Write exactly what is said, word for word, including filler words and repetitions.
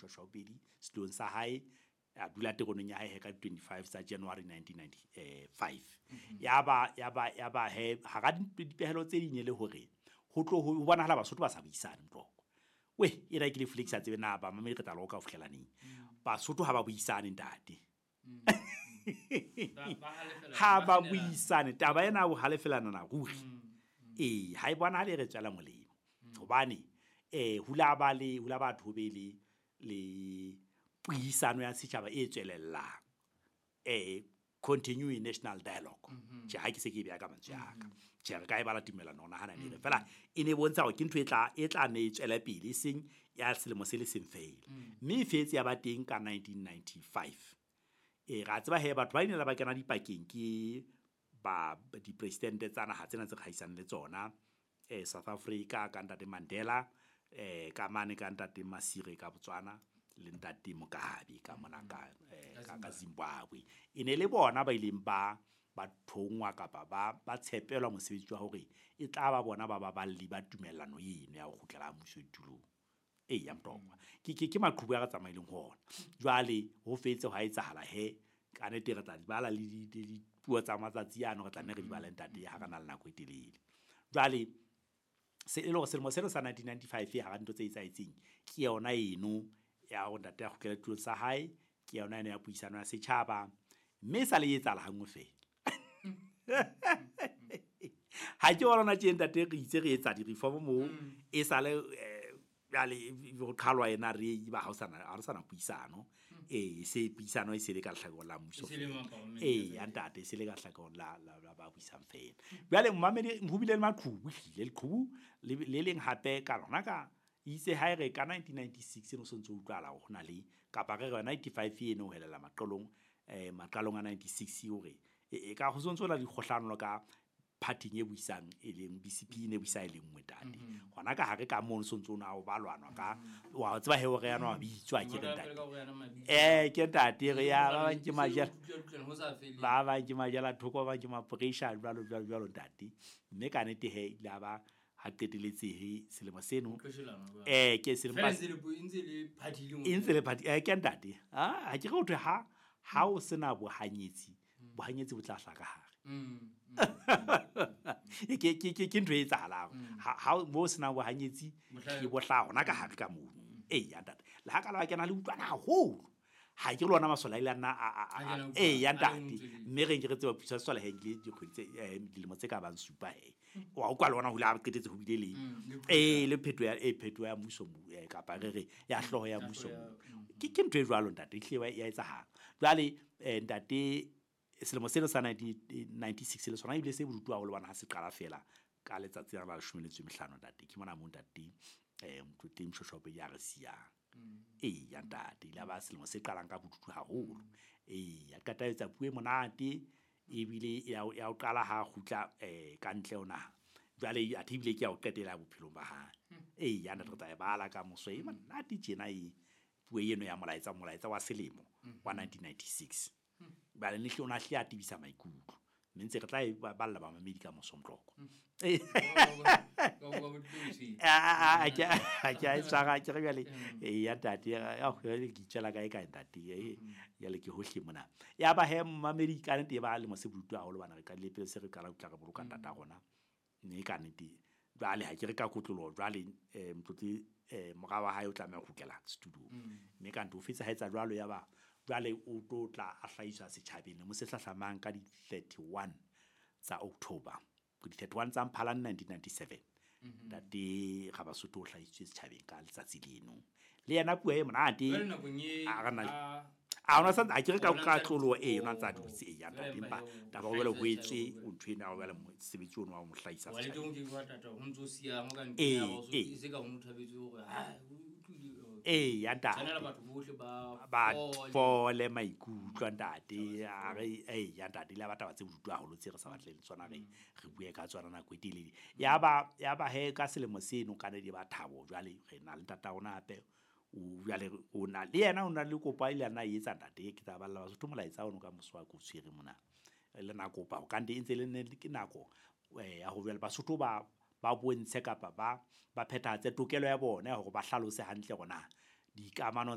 Moshoeshoe Pedi setulong sa hae, a dula teroneng ya hae ka twenty-five tsa January nineteen ninety-five. Ya ba ya ba ya ba he hara dipehelo tse ding le hore ho tlo ho bonahala Basotho ba sa buisane mtloko. We e ra ke le flex a tsebe na ba mamedi re tla loka ho fihlela neng. Basotho ha ba buisane ntate. Ha ba buisane taba ena ho halefelana na ruri. Eh ha e bona le re tswela molemo. Hobane eh hula ba le hula batho be le le puisano ya setjhaba e tswelellang. Eh continuing national dialogue. Tjhe ha ke se ke beya ka mantswe a ka. Tjhe re ka e bala tumelano ona hana ne fela e ne bontsha hore ke ntho e tla e tla ne e tswele pele seng ya selemo se le seng fela. Mme e fetse ya ba teng ka nineteen ninety-five. E ra tseba he batho ba ile ba kena dipakeng ke ba di-president tsa naha tsena tse kgaisang le tsona, eh South Africa ka ntate Mandela, eh ka mane ka ntate Masire ka Botswana le ntate Mugabe ka mona ka ka ka Zimbabwe. E ne le bona ba ileng ba ba thongwa kapa ba ba tshepelwa mosebetsi wa hore e tla ba bona ba baballi ba tumellano eno ya ho kgutlela mmuso ditulong. E ya mtokwa ke ke ke maqhubu a re tsamaileng ho ona. Jwale ho fetse ho etsahala he ka nete re tla di bala le dipuo tsa matsatsi ano re tla nne re di bale ntate ha re na le nako e telele. Jwale se e le hore selemo seno sa nineteen ninety-five ha ra ntho tse etsahetseng ke yona eno ya hore ntate a kgutlele tulong sa hae, ke yona eno ya puisano ya setjhaba mme e sa le etsahala hanngwe fela. Ha ke bona tje ntate re itse re etsa di-reform moo e sale jwale ho qhalwa ena re ba ha o sana ha re sana puisano. Eh se puisano e se le ka lehlakoreng la mmuso. Eh ya ntate e se le ka lehlakoreng la la ba buisang fela. Jwale mmamedi ho bile le maqhubu hlile leqhubu le leng hape ka lona ka itse ha re ka nineteen ninety-six no sontso utlwala ho na le kapa re re ninety-five eno ho helela maqalong eh maqalong a ninety-six hore e ka ho sontso la dikgohlano ka party e buisang e leng B C P ne buisa e leng nngwe tate. Hona ka hare ka mono sontso na o balwanwa ka wa tseba he hore yana wa bitswa ke re ntate. Eh ke ntate re ya ba bang ke majela ba bang ke majela thoko ba bang ke mapressure jwalo jwalo jwalo ntate. Mme ka nete he ile ba ha qeteletse he selemo seno eh ke selemo ba ntse le party le ntse le party eh ke ntate. Ah ha ke re ho ha ha o sena bohanyetsi bohanyetsi bo tla hlaka hare. Ke ke ke ke ntho e etsahalang ha mo sena bohanyetsi ke bo hla hona ka hare ka mono. Eh ya ntate le ha ka la kena le utlwana haholo ha ke lona masola ile nna a eh ya ntate mme re nke re tseba pusa sola he ke dikgwedi tse dilemo tse ka bang supa he wa o kwa lona ho la qetetse ho bile le eh le phetho ya e phetho ya mmuso kapa re re ya hloho ya mmuso ke ke ntho e jwalo ntate ehle ya etsahala. Jwale ntate selemo seno sa nineteen ninety-six le sona ebile se bodutu haholo bana ha se qala fela ka letsatsi la leshome le metso e mehlano ntate ke mona mo ntate eh Motlotleng Moshoeshoe ya re siyang. Eh ya ntate ile ba selemo se qalang ka bodutu haholo. Eh ya qeta etsa puo e monate ebile ya ya o qala ha kgutla eh ka ntle ho naha. Jwale a thibile ke ya o qetela bophelong ba hae. Eh ya ntate re tla e bala ka moso e monate tjena e puo eno ya molaetsa molaetsa wa selemo wa nineteen ninety-six. Ba le hle ona hle a tibisa maikutlo mme ntse re tla e balla ba mamedi ka moso mtloko. A ke a ke a tsara ke re jwale e ya ntate ya go le ke itjela kae kae ntate e ya le ke hohle mona. Ya ba he mamedi ka nete ba le mose bodutu haholo bana re ka le pele se re qala ho tla re boloka ntata rona mme ka nete jwale ha ke re ka kotlolo jwale Motlotle eh mora wa hae o tlameha ho kgutlela studio mme ka nto fetsa ha etsa jwalo ya ba jwale o tlo tla a hlahiswa setjhabeng le mo se hlahlamang ka di thirty-one tsa October di thirty-one tsa Mphalane nineteen ninety-seven ntate Rabasotho o hlahisitswe setjhabeng ka letsatsi leno le yena puo e monate a re na a ona sa a ke re ka ka tlolo e yona tsa dutse e ya ntate empa taba o jwale ho etswe o ntho ena o jwale mosebetsi ono wa mo hlahisa setjhabeng. Wa le teng ke batla ho ntso siya ho ka ntle o se ka ho mothabetse hore ha eh ya ntate ba ba fole maikutlo ntate a re eh ya ntate le ba taba tse bodutu haholo tse re sa batleng tsona re re bue ka tsona nako e telele. Ya ba ya ba he ka selemo seno ka ne di ba thabo jwale re na le ntata rona hape o jwale o na le yena o na le kopo ile ana e etsa ntate ke tla balla Basotho molaetsa ono ka moso wa ko tshwere mona le na kopa ho kante e ntse le ne ke nako ya ho jwale Basotho ba ba bontshe kapa ba ba phethahatse tokelo ya bona ya hore ba hlalose hantle hore na dikamano